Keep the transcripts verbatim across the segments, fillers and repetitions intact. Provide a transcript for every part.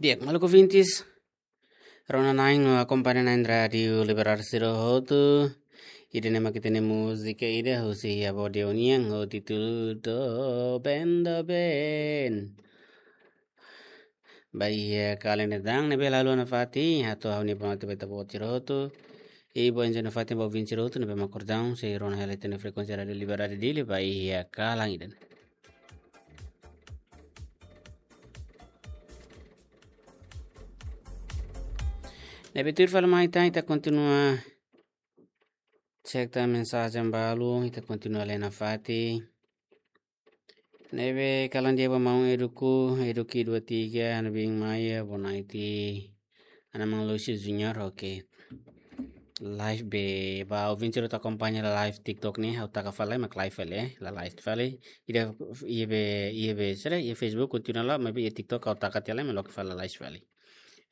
Di'ak, maluk ouvintes, rona na'in no akompaña na'in Rádiu Liberdade sira hotu. Ida-ne'e mak ita-nia múzika ida husi Avó Deonian ho títulu Doben Doben. Ba iha kalan ida-ne'e, ne'ebé la haluha nafatin, hato'o ha'u-nia bonote ba ita-boot sira hotu. I boa enjoy nafatin ba ouvinte sira hotu ne'ebé mak akordaun sei rona hela ita-nia frekuénsia Rádiu Liberdade Dili ba iha kalan ida-ne'e. Ne'ebé tuir fali mai tan, ita kontinua cek tan mensajen balu, ita kontinua lee nafatin. Ne'ebé kalan di'ak ba maun Eduku, Eduki dua tiga, Anabing Maia, boa noite. Ana Maun Lucio Junior, oke. Live be, ba ouvinte sira hotu akompaña la live TikTok ne'e, ha'u taka fali, mak live fali, eh, la live fali. Ida, iha be, iha be, sira, iha Facebook, kontinua la, maibé iha TikTok, ha'u taka tiha lai, mak loke fali la live fali.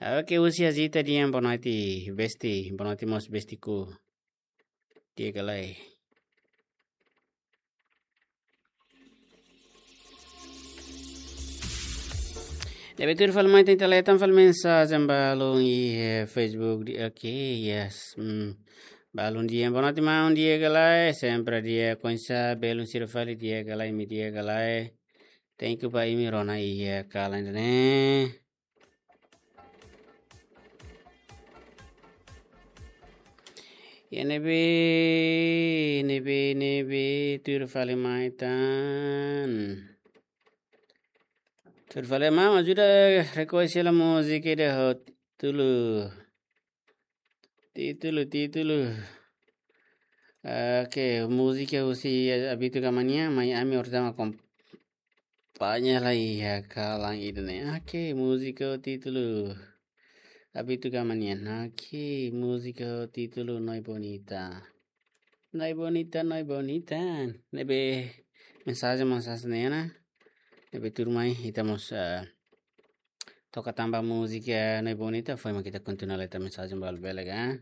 Oke, husi Azita Dian, boa noite, besti, boa noite mós bestiku. Di'ak ka lae. Ne'ebé tuir fali mai tan, ita lee tan fali mensajen balun iha Facebook di, oke, yes. Hmm. Balun di'ak, boa noite maun, di'ak ka lae, sempre di'ak, oinsá belun sira fali, di'ak ka lae, imi di'ak ka lae. Thank you ba imi rona iha kalan ida-ne'e. Ya ne'ebé, ne'ebé, ne'ebé, tuir fali mai tan. Tuir fali mai, ajuda rekoñese hela múzika ida ho títulu. Títulu, títulu. Oke, múzika husi Abito Gamania, mai ami ortama kom-, Paña lai iha kalan ida-ne'e. Oke, múzika ho títulu Abito Gamania. Oke, múzika ho títulu Noi Bonita. Noi Bonita, Noi Bonita. Ne'ebé mensajen mós hanesan ne'e ona. Ne'ebé tuirmai ita mós, eh, toka tan ba múzika Noi Bonita. Foin mak ita kontinua lee tan mensajen balu bele ka.